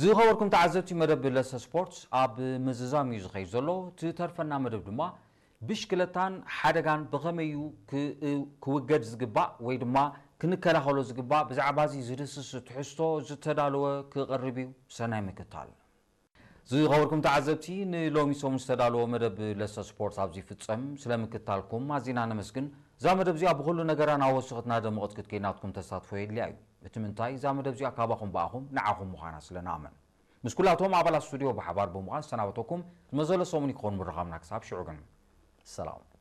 ዝኸበርኩም ተዓዘብቲ መደብ ለሰ ስፖርት ኣብ ምዝዛም እዩ ዝኸይድ ዘሎ። ትተርፈና መደብ ድማ ብሽክለታን ሓደጋን ብኸመይ እዩ ክ- ክውገድ ዝግባእ ወይ ድማ ክንከላኸሎ ዝግባእ፣ ብዛዕባ እዚ ዝድስስ ትሕዝቶ ዝተዳለወ ክቐርብ እዩ። ሰናይ ምክታል። ዝኸበርኩም ተዓዘብቲ፣ ንሎሚ ሰሙን ዝተዳለወ መደብ ለሰ ስፖርት ኣብዚ ይፍጸም። ስለምክታልኩም ኣዚና ነመስግን። እዛ መደብ እዚኣ ብኹሉ ነገራ ናብ ወሰኽትና ደመቐት ክትከይድ ናትኩም ተሳትፎ የድልያ እዩ። እቲ ምንታይ፣ እዛ መደብ እዚኣ ካባኹም ብኣኹም ንዓኹም ምዃና ስለ ንኣምን። ምስ ኩላቶም ኣባላት ስቱድዮ ብሓባር ብምዃን ዝሰናበተኩም ዝመዘለ ሰሙን ይኸውን ምርኻብና። ክሳብ ሽዑ ግን ሰላም።